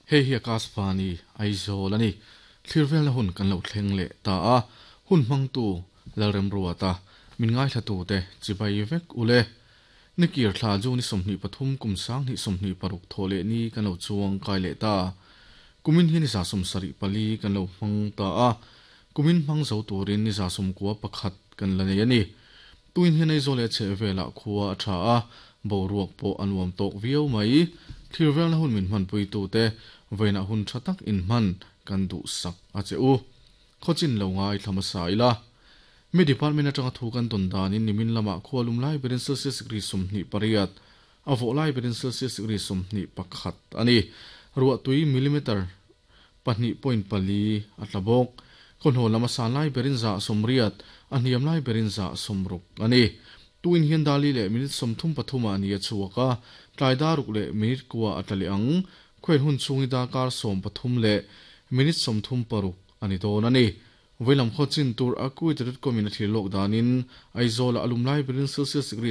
Hei hi Akashvani Aizawl a ni. Thlir velna hun kan lo thleng leh ta a, hun hmangtu Lalremruata, min ngaithlatute chibai vek ule. Nikir thla June 23 kum 2026 thawh leh ni kan lo chuang kai leh ta. Kumin hi ni 74 kan lo hmang ta a, kumin hmang zo turin ni 91 kan la nei a ni. Tuin hian Aizawl leh a chheh velah khua a tha a, boruak pawh a nuam tawk viau mai. Thlir velna hun min hmanpuitute vawiinah hun tha tak inhman kan duhsak a che u. Khawchin lo ngaithla hmasa ila. Mi department atanga thu kan dawn danin nimin lamah khua lum lai berin Celsius degree 28, a vawh lai berin Celsius degree 21 a ni. Ruahtui millimeter 2.4 a tla bawk. Khawhnaw lam a san lai berin 180, a hniam lai berin 60 a ni. Tuin hian dali leh minute 33 ah ni a chhuak a, tlai daruk leh minute kua a tla leh ang. Khuain hun chhung hi darkar 13 leh minute 36 a ni dawn a ni. Vawilam khaw chin tur a Kuwait.com in a thlir lawk danin Aizawl-ah a lum lai berin Celsius degree.